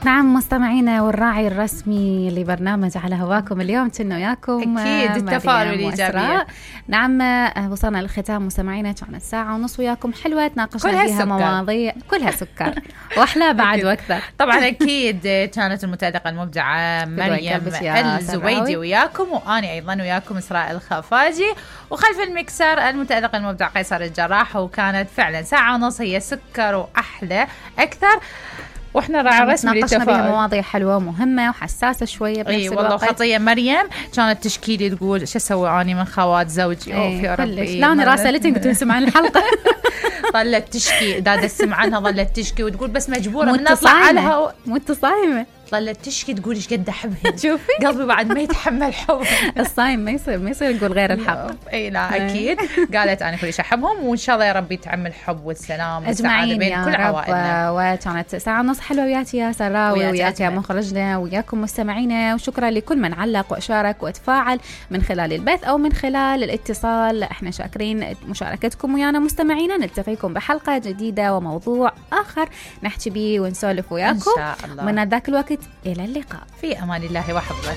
نعم مستمعينا والراعي الرسمي لبرنامج على هواكم اليوم كنا وياكم أكيد التفاؤل والإيجابية. نعم وصلنا للختام مستمعينا، كانت ساعة ونص وياكم حلوة تناقشنا فيها مواضيع كلها سكر وأحلى بعد وأكثر. طبعا أكيد كانت المتألقة المبدعة مريم الزبيدي وياكم، وأنا أيضا وياكم إسراء الخفاجي، وخلف المكسر المتألق المبدع قيصر الجراح. وكانت فعلا ساعة ونص هي سكر وأحلى أكثر، واحنا راعي رسمي ناقشنا بها مواضيع حلوه ومهمه وحساسه شويه بنفس الوقت. والله خطيه مريم كانت تشكيلي تقول شو اسوي اني من خوات زوجي. يا ربي لا انا راسلتني قلت تسمع عن الحلقه ظلت تشكي دادا تسمع عنها، ظلت تشكي وتقول بس مجبوره من اطلع عليها متصايمه، ظلت تشكي تقول ايش قد احبها. شوفي قلبي بعد ما يتحمل حب. الصايم ما يصير يقول غير الحق. اي لا اكيد قالت انا كل شيء احبهم، وان شاء الله يا رب يتعم الحب والسلام والسعاده بين كل عوائلنا. وكانت ساعه ونص حلوه وياك يا سراوي وياك يا مخرجنا وياكم مستمعينا، وشكرا لكل من علق واشارك وتفاعل من خلال البث او من خلال الاتصال. احنا شاكرين مشاركتكم ويانا مستمعينا. نلتقيكم بحلقه جديده وموضوع اخر نحكي به ونسولف وياكم ان شاء الله. من ذاك الوقت الى اللقاء، في امان الله وحفظه.